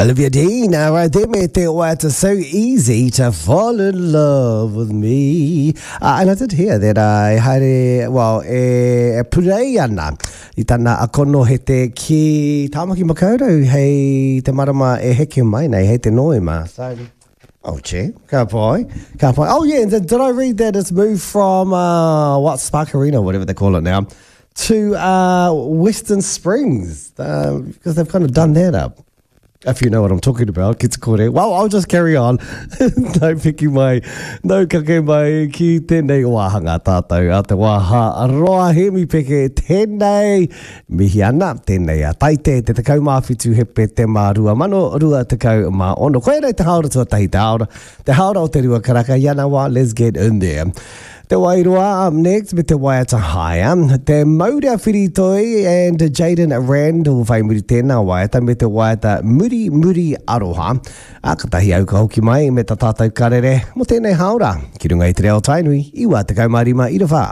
Olivia Dean, right there me te waiata So Easy to Fall in Love with Me. And I did hear that I haere, well, e, e purei ana i tana konohete ki Tāmaki Makaurau hei te marama e heke mai nei, hei te Noema. So, oh, che, ka pai, ka pai. Oh, yeah, and did I read that it's moved from, uh, what, Spark Arena, whatever they call it now, to uh, Western Springs, because they've kind of done that up. If you know what I'm talking about, ki te kore. Well, I'll just carry on. no piki mai, no kake mai ki tēnei wāhanga tātou a te wāha roa Hemi Peke tēnei mihi ana, tēnei a Taite te 17 Hepetema 2026. Koia nei te hāora tuatahi, te hāora, te hāora o te rua karaka, i ana wā, let's get in there. Te Wairoa up next me te waiata Higher. Te Maurea Whiritoi and Jayden Randall whai muri tēnā waiata me te waiata Muri Muri Aroha. A katahi au ka hoki mai me ta tātou karere mo tēnei hāora ki runga i te reo Tainui 95 ira whā.